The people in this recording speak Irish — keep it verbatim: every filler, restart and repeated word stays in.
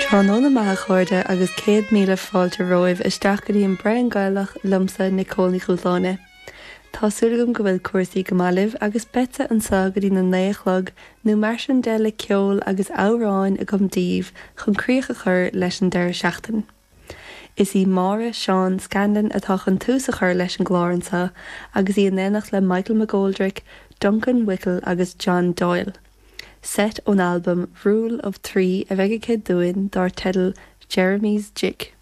Tráthnóna maith a chairde agus céad míle fáilte romhaibh isteach go dtí an Braon Gaelach liomsa Nicole Ní Chúláine. Tá súil agam go bhfuil cúrsaí go maith libh agus beidh anseo go dtí na naoi a chlog nó mar sin de le ceol agus amhráin agam daoibh chun críoch a chur leis an deireadh seachtaine. Is í Máire Seán Scanlon atá chun tús a chur leis an gclár anseo agus í in éineacht le Michael McGoldrick, Duncan Wickel agus John Doyle. Set ón albam Rule of Three a bheidh aici dúinn dar teideal Jeremy's Jig.